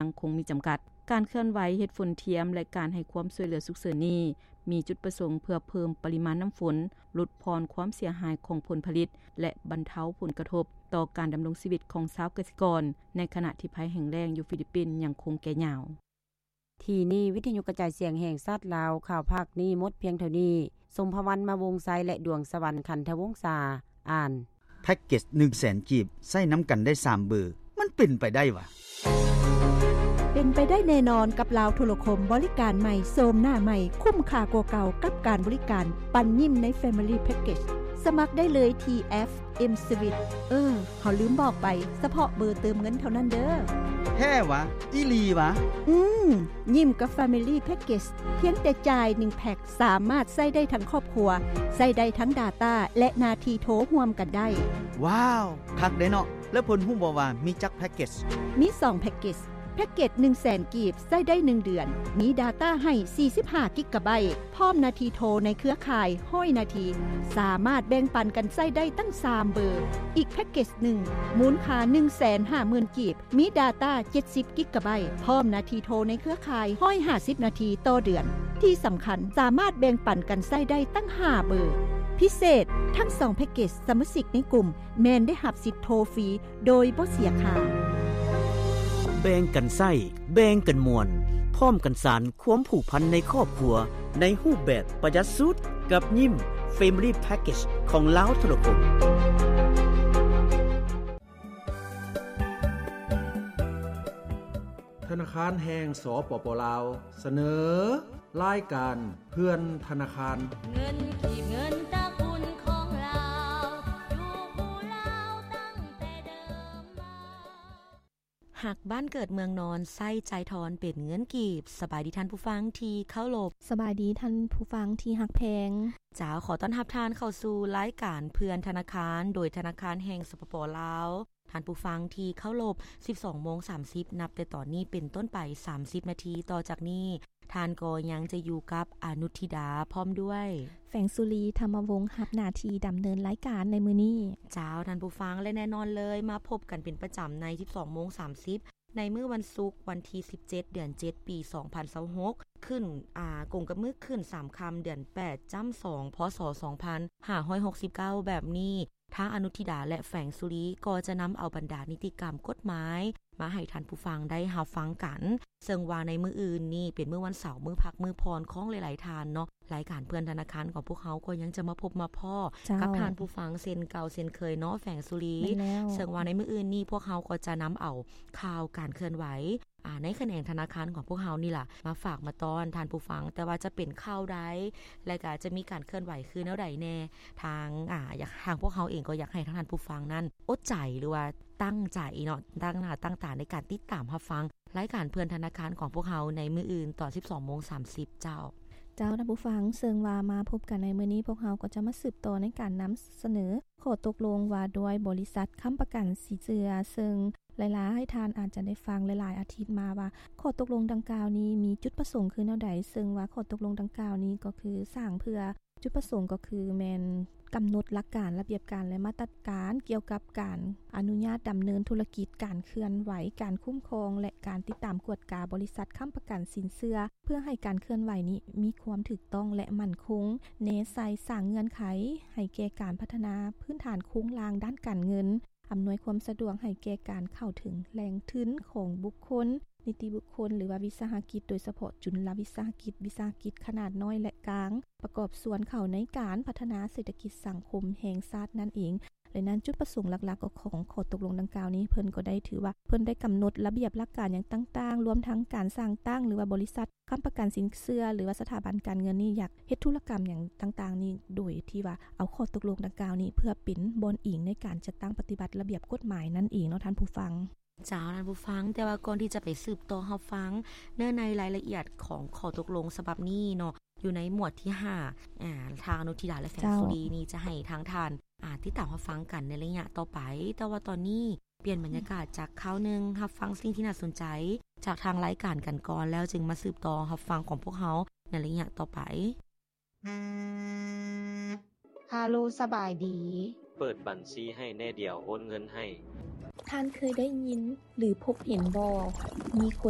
ຍັງຄົງມີຈຳກັດ. ການເຄື່ອນໄຫວເຮັດຝົນທຽມ ແລະ ການໃຫ້ຄວາມຊ່ວຍເຫຼືອສຸກເສີນນີ້ ມີຈຸດປະສົງເພື່ອເພີ່ມປະລິມານນ້ຳຝົນ, ຫຼຸດຜ່ອນຄວາມເສຍຫາຍຂອງຜົນຜະລິດ ແລະ ບັນເທົາຜົນກະທົບຕໍ່ການດຳລົງຊີວິດຂອງຊາວກະສິກອນ ໃນຂະນະທີ່ໄພແຫ້ງແລ້ງຢູ່ຟີລິບປິນຍັງຄົງແກ່ຍາວ. ທີ່ນີ້ ວິທະຍຸກະຈາຍສຽງແຫ່ງຊາດລາວ ຂ່າວພາກນີ້ໝົດພຽງເທົ່ານີ້. ສົມພະວັນ ມາວົງໄຊ ແລະ ດວງສະຫວັນ ຄັນທະວົງສາ ອ່ານ. ແພັກເກັດໜຶ່ງແສນກີບ ໃຊ້ນຳກັນໄດ້ສາມເບີ ມັນເປັນໄປໄດ້ຫວາ? ເປັນໄປໄດ້ແນ່ນອນກັບລາວໂທລະຄົມ ບໍລິການໃໝ່ ໂສມໜ້າໃໝ່ ຄຸ້ມຄ່າກວ່າເກົ່າກັບການບໍລິການ ປັນຍິ້ມໃນ Family Package. ສະໝັກໄດ້ເລີຍທີ່ແອັບ M-Sweet. ເອີ ເຮົາລືມບອກໄປ, ສະເພາະເບີເຕີມເງິນເທົ່ານັ້ນເດີ້. ແທ້ຫວາ? ອີ່ຫຼີຫວາ? ອືມ, ຍິ້ມກັບ Family Package ພຽງແຕ່ຈ່າຍໜຶ່ງແພັກ ສາມາດໃຊ້ໄດ້ທັງຄອບຄົວ, ໃຊ້ໄດ້ທັງ data ແລະ ໜ້າທີ່ໂທຮ່ວມກັນໄດ້. ວ້າວ, ຄັກເດ້ເນາະ. ແລ້ວເພິ່ນຮູ້ບໍ່ວ່າມີຈັກແພັກເກັດ? ມີສອງແພັກເກັດ. ແພັກເກັດໜຶ່ງແສນກີບ ໃຊ້ໄດ້ໜຶ່ງເດືອນ, ມີ data ໃຫ້ສີ່ສິບຫ້າກິກກະໄບ, ພ້ອມໜ້າທີ່ໂທໃນເຄືອຂ່າຍຮ້ອຍນາທີ, ສາມາດແບ່ງປັນກັນໃຊ້ໄດ້ຕັ້ງສາມເບີ. ອີກແພັກເກັດໜຶ່ງ ມູນຄ່າໜຶ່ງແສນຫ້າໝື່ນກີບ, ມີ data ເຈັດສິບກິກກະໄບ, ພ້ອມໜ້າທີ່ໂທໃນເຄືອຂ່າຍຮ້ອຍຫ້າສິບນາທີຕໍ່ເດືອນ. ທີ່ສຳຄັນ, ສາມາດແບ່ງປັນກັນໃຊ້ໄດ້ຕັ້ງຫ້າເບີ. ພິເສດ, ທັງສອງແພັກເກັດ ສະມາຊິກໃນກຸ່ມແມ່ນໄດ້ຮັບສິດໂທຟຣີ ໂດຍບໍ່ເສຍຄ່າ. ແບ່ງກັນໃຊ້, ແບ່ງກັນມ່ວນ, ພ້ອມກັນສານຄວາມຜູກພັນໃນຄອບຄົວ ໃນຮູບແບບປະຢັດສຸດ ກັບຍິ້ມ Family Package ຂອງລາວໂທລະຄົມ. ທະນາຄານແຫ່ງ ສປປ ລາວ ສະເໜີ ລາຍການເພື່ອນທະນາຄານ. ເງິນກີບ ເງິນຕະກຸນຂອງລາວ ຢູ່ຄູ່ລາວຕັ້ງແຕ່ເດີມມາ. ຮັກບ້ານເກີດເມືອງນອນ ໃຊ້ຈ່າຍທອນເປັນເງິນກີບ. ສະບາຍດີທ່ານຜູ້ຟັງທີ່ເຄົາລົບ. ສະບາຍດີທ່ານຜູ້ຟັງທີ່ຮັກແພງ. ເຈົ້າ, ຂໍຕ້ອນຮັບທ່ານເຂົ້າສູ່ລາຍການເພື່ອນທະນາຄານ ໂດຍທະນາຄານແຫ່ງ ສປປ ລາວ. ທ່ານຜູ້ຟັງທີ່ເຄົາລົບ, ສິບສອງໂມງສາມສິບ ນັບແຕ່ຕອນນີ້ເປັນຕົ້ນໄປ ສາມສິບນາທີຕໍ່ຈາກນີ້, ທ່ານກໍຍັງຈະຢູ່ກັບອະນຸທິດາ ພ້ອມດ້ວຍ ແຟງສຸລີ ທຳມະວົງ ຮັບໜ້າທີ່ດຳເນີນລາຍການໃນມື້ນີ້. ເຈົ້າ, ທ່ານຜູ້ຟັງ, ແລະ ແນ່ນອນເລີຍ, ມາພົບກັນເປັນປະຈຳໃນ ສິບສອງໂມງສາມສິບ ໃນມື້ວັນສຸກ ວັນທີສິບເຈັດ ເດືອນເຈັດ ປີສອງພັນຊາວຫົກ ຂຶ້ນ, ອາ, ກົງກັບມື້ຂຶ້ນສາມຄ່ຳ ເດືອນແປດ ຈ້ຳສອງ ພ.ສ. ສອງພັນຫ້າຮ້ອຍຫົກສິບເກົ້າ ແບບນີ້. ທາງອະນຸທິດາ ແລະ ແຟງສຸລີ ກໍຈະນຳເອົາບັນດານິຕິກຳກົດໝາຍມາໃຫ້ທ່ານຜູ້ຟັງໄດ້ຮັບຟັງກັນ, ເຊິ່ງວ່າໃນມື້ອື່ນນີ້ເປັນມື້ວັນເສົາ, ມື້ພັກ, ມື້ຜ່ອນຂອງຫຼາຍໆທ່ານເນາະ, ລາຍການເພື່ອນທະນາຄານຂອງພວກເຮົາກໍຍັງຈະມາພົບມາພໍ້ ເຈົ້າ ກັບທ່ານຜູ້ຟັງເຊັ່ນເກົ່າເຊັ່ນເຄີຍເນາະ ແຟງສຸລີ. ແມ່ນແລ້ວ. ເຊິ່ງວ່າໃນມື້ອື່ນນີ້ພວກເຮົາກໍຈະນຳເອົາຂ່າວການເຄື່ອນໄຫວ ອາ ໃນຂະແໜງທະນາຄານຂອງພວກເຮົານີ້ລະ ມາຝາກມາຕ້ອນທ່ານຜູ້ຟັງ, ແຕ່ວ່າຈະເປັນຂ່າວໃດ ແລະ ກະຈະມີການເຄື່ອນໄຫວຄືແນວໃດແດ່, ທາງ ອາ ຢາກ ທາງພວກເຮົາເອງກໍຢາກໃຫ້ທາງທ່ານຜູ້ຟັງນັ້ນອົດໃຈ ຫຼືວ່າຕັ້ງໃຈເນາະ, ຕັ້ງໜ້າຕັ້ງຕາໃນການຕິດຕາມຮັບຟັງລາຍການເພື່ອນທະນາຄານຂອງພວກເຮົາໃນມື້ອື່ນຕອນສິບສອງໂມງສາມສິບເຈົ້າ. ເຈົ້າ ທ່ານຜູ້ຟັງ, ເຊິ່ງວ່າມາພົບກັນໃນມື້ນີ້, ພວກເຮົາກໍຈະມາສືບຕໍ່ໃນການນຳສະເໜີ ຂໍ້ຕົກລົງວ່າດ້ວຍບໍລິສັດຄ້ຳປະກັນສິນເຊື່ອ, ເຊິ່ງຫຼາຍໆທ່ານອາດຈະໄດ້ຟັງຫຼາຍໆອາທິດມາວ່າ ຂໍ້ຕົກລົງດັ່ງກ່າວນີ້ມີຈຸດປະສົງຄືແນວໃດ, ເຊິ່ງວ່າຂໍ້ຕົກລົງດັ່ງກ່າວນີ້ກໍຄືສ້າງເພື່ອ ຈຸດປະສົງກໍຄືແມ່ນກຳນົດຫຼັກການ, ລະບຽບການ ແລະ ມາດຕະການກ່ຽວກັບການອະນຸຍາດດຳເນີນທຸລະກິດ, ການເຄື່ອນໄຫວ, ການຄຸ້ມຄອງ ແລະ ການຕິດຕາມກວດກາບໍລິສັດຄ້ຳປະກັນສິນເຊື່ອ, ເພື່ອໃຫ້ການເຄື່ອນໄຫວນີ້ມີຄວາມຖືກຕ້ອງ ແລະ ໝັ້ນຄົງ, ແນໃສ່ສ້າງເງື່ອນໄຂໃຫ້ແກ່ການພັດທະນາພື້ນຖານໂຄງລ່າງດ້ານການເງິນ, ອຳນວຍຄວາມສະດວກໃຫ້ແກ່ການເຂົ້າເຖິງແຫຼ່ງທຶນຂອງບຸກຄົນ, ນິຕິບຸກຄົນ ຫຼືວ່າວິສາຫະກິດ, ໂດຍສະເພາະຈຸນລະວິສາຫະກິດ, ວິສາຫະກິດຂະໜາດນ້ອຍ ແລະ ກາງ, ປະກອບສ່ວນເຂົ້າໃນການພັດທະນາເສດຖະກິດສັງຄົມແຫ່ງຊາດນັ້ນເອງ. ແລະ ນັ້ນ ຈຸດປະສົງຫຼັກໆຂອງຂໍ້ຕົກລົງດັ່ງກ່າວນີ້ ເພິ່ນກໍໄດ້ຖືວ່າ ເພິ່ນໄດ້ກຳນົດລະບຽບຫຼັກການຫຍັງຕ່າງໆ, ລວມທັງການສ້າງຕັ້ງ ຫຼືວ່າບໍລິສັດ ຄ້ຳປະກັນສິນເຊື່ອ ຫຼືວ່າສະຖາບັນການເງິນນີ້ ຢາກເຮັດທຸລະກຳຫຍັງຕ່າງໆນີ້ ໂດຍທີ່ວ່າເອົາຂໍ້ຕົກລົງດັ່ງກ່າວນີ້ ເພື່ອເປັນບ່ອນອີງໃນການຈັດຕັ້ງປະຕິບັດລະບຽບກົດໝາຍນັ້ນເອງເນາະ ທ່ານຜູ້ຟັງ. ເຈົ້າ ທ່ານຜູ້ຟັງ, ແຕ່ວ່າກ່ອນທີ່ຈະໄປສືບຕໍ່ຮັບຟັງເນື້ອໃນລາຍລະອຽດຂອງຂໍ້ຕົກລົງສະບັບນີ້ເນາະ, ຢູ່ໃນໝວດທີຫ້າ ອາ ທາງອະນຸທິດາ ແລະ ແຟງສຸລີນີ້ ຈະໃຫ້ທາງທ່ານ ອາ ຕິດຕາມຮັບຟັງກັນໃນໄລຍະຕໍ່ໄປ. ແຕ່ວ່າຕອນນີ້ ປ່ຽນບັນຍາກາດຈາກຂ່າວໜຶ່ງ, ຮັບຟັງສິ່ງທີ່ໜ້າສົນໃຈຈາກທາງລາຍການກັນກ່ອນ ແລ້ວຈຶ່ງມາສືບຕໍ່ຮັບຟັງຂອງພວກເຮົາໃນໄລຍະຕໍ່ໄປ. ຮາໂລ ສະບາຍດີ. ເປີດບັນຊີໃຫ້ແດ່ ດຽວໂອນເງິນໃຫ້. ທ່ານເຄີຍໄດ້ຍິນ ຫຼື ພົບເຫັນບໍ່? ມີຄົນ